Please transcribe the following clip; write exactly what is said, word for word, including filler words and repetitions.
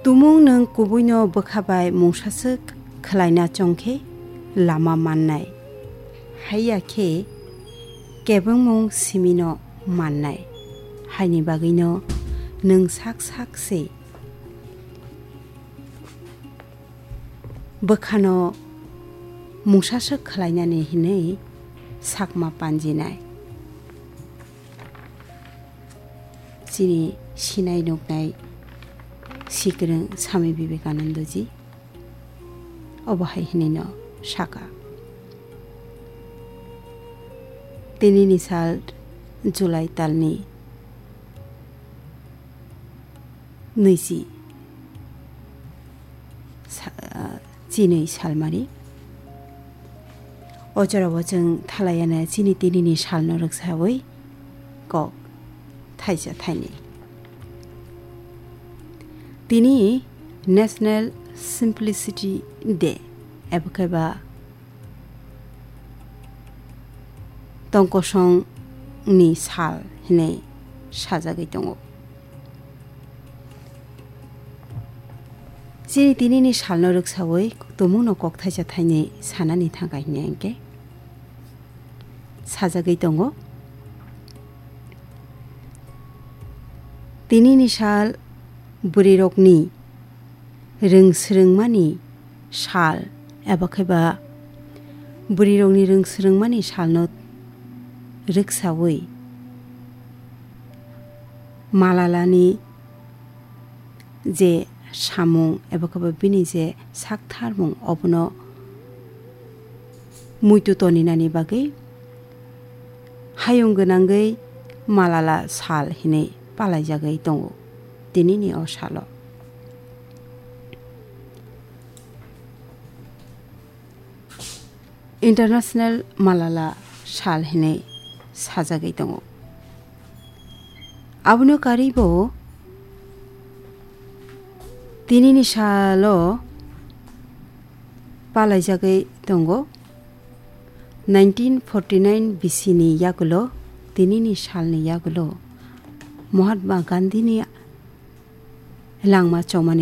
Tumung nwng kubuino bwkha bai mungsaswk khwlaina chong khe lama mannai, haiya khe kebengmung simino mannai, haini bagwino nwng sak sak se bwkhano mungsaswk khwlainani hinwi sakma panjinai. Chini sinai nuknai sikrwng Swami Vivekanandaji obo hai hinwino saka. Tinini sal July talni nwichi sa-, ah, chinwi salmari. O jorao chwng thalayana chini tinini salno rwksawi kok thaisa thaini. Tini National Simplicity Day, ebo khe ba tongkosongni sal hinwi sajagwi tongo. Chini tinini salno rwksawi tumungno kok thaisa thaini sanani thangkha hinya hinkhe sajagwi tongo. Tinini sal bwrwirokni rwng swrwngmani sal eba khe ba bwrwirokni rwng swrwngmani salno rwksawi Malalani je samung eba khe ba bini je sak tharmung obono muitu toninani bagwi hayung gwnangwi Malala sal hinwi palaijagwi tongo tinini o salo. International Malala sal hinwi sajagwi tongo. Abono karwibo tinini salo palaijagwi tongo. Nineteen forty nine B C ni yagulo, tinini salni yagulo Mahatma Gandhini langma chomani